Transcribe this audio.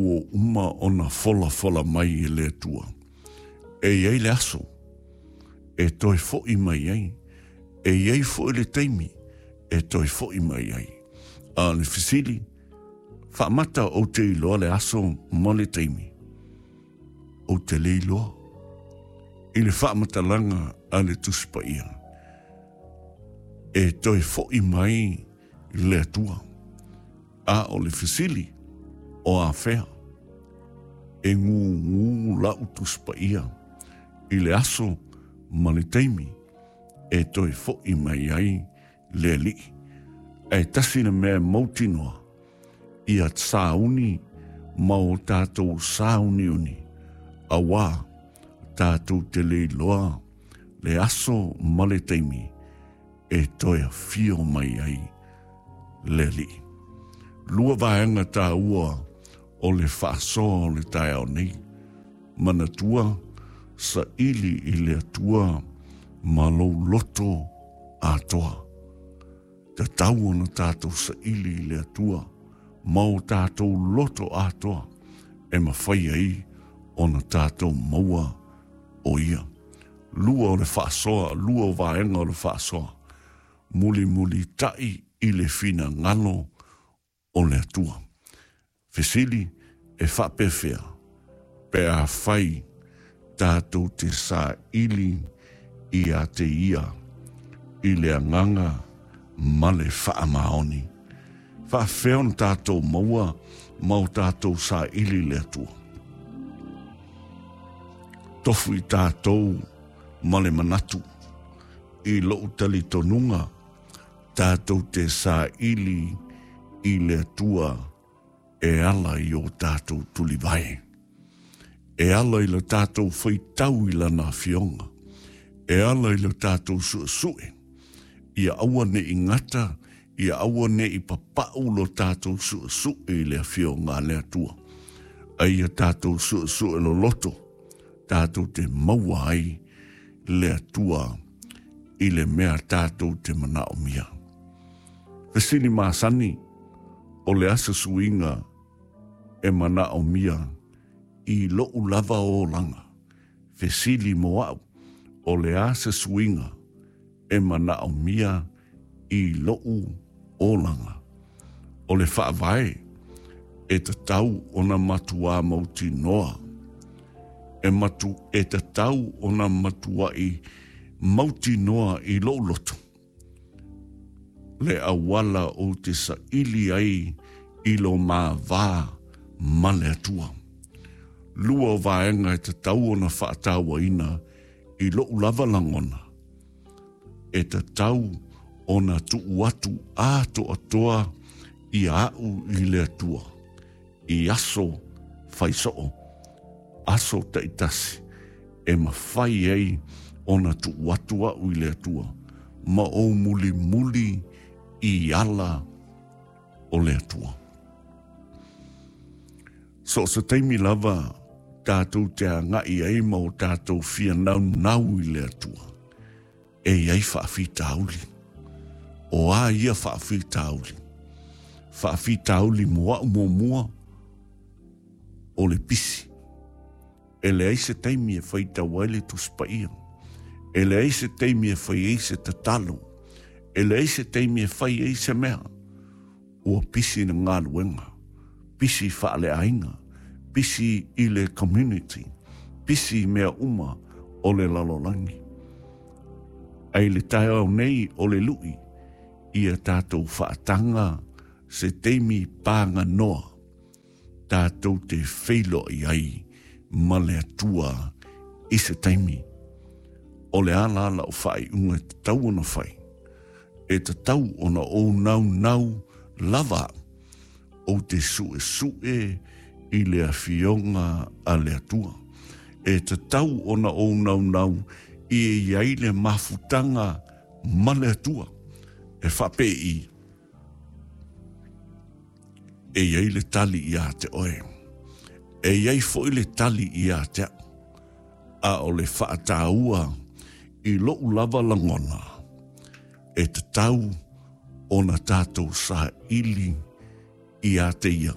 Ua uma ona folafola mai e le Atua. E i ai le aso e toe fo'i mai ai, e i ai foi le taimi e toe fo'i mai ai. A o le fesili, faamata ou te iloa le aso ma le taimi? Ou te le iloa. I le faamatalaga a le Tusi Paia, e toe fo'i mai le Atua. A o le fesili, o afea? E gūgū la'u Tusi Paia i le aso ma le taimi e toe fo'i mai ai le Alii. Ae tasi le mea e mautinoa, ia sauni ma o tatou sāuniuni, auā tatou te le iloa le aso ma le taimi e toe afio mai ai le Alii. Lua vaega tāua o le faasoa o le taeao nei. Manatua, saili i le Atua ma lou loto atoa. Tatau ona tatou saili i le Atua ma o tatou loto atoa e mafai ai ona tatou maua o Ia. Lua o le faasoa, lua o vaega o le faasoa, mulimulitai i le finagalo o le Atua. Fesili, E faapefea pe afai tatou te saili ia te Ia i le agaga ma le faamaoni? Faafefea ona tatou maua ma o tatou saili i le Atua? Tofu i tatou ma le manatu i lou talitonuga tatou te saili i le Atua e ala i o tatou tulivae, e ala i lo tatou faitau i Lana Afioga, e ala i lo tatou suesue, ia aua ne i gata, ia aua ne i papau lo tatou suesue i le Afioga a le Atua, a ia tatou suesue loloto, tatou te maua ai le Atua i le mea tatou te manaomia. Fesili masani, o le a se suiga e manaomia i loʻu lava olaga? Fesili mo aʻu, o le a se suiga e manaomia i loʻu olaga? O le faavae e tatau ona matuā mautinoa, e matu, e tatau ona matuaʻi mautinoa i loʻu loto le auala ou te saili ai i lo ma va ma le Atua. Lua o vaega e tatau ona faatauaina i loʻu lava lagona, e tatau ona tuu atu atoatoa ia aʻu i le Atua i aso fai soo, aso taitasi e mafai ai ona tuu atu aʻu i le Atua ma ou mulimuli i ala o le Atua. So o se taimi lava tatou te agaʻi ai ma o tatou fia naunau i le Atua, e i ai faafitauli. O a ia faafitauli? Faafitauli mo aʻu muamua, o le pisi. E leai se taimi e faitau ai le Tusi Paia. E leai se taimi e fai ai se tatalo. E leai se taimi e fai ai se mea. Ua pisi le galuega, pisi faaleaiga, pisi i le community, pisi i mea uma o le lalolagi. Ae i le taeao nei o le luʻi, ia tatou faataga se taimi paganoa tatou te feiloai ai ma le Atua i se taimi. O le a la lau faaiuga e tatau ona fai? E tatau ona ou naunau lava au, ou te suesue i le Afioga a le Atua. E tatau ona ou naunau i e i ai le mafutaga ma le Atua, e faapei E i ai le tali iā te oe. E i ai foi le tali iā te aʻu. A o le faataua i loʻu lava lagona, e tatau ona tatou saili iā te ia.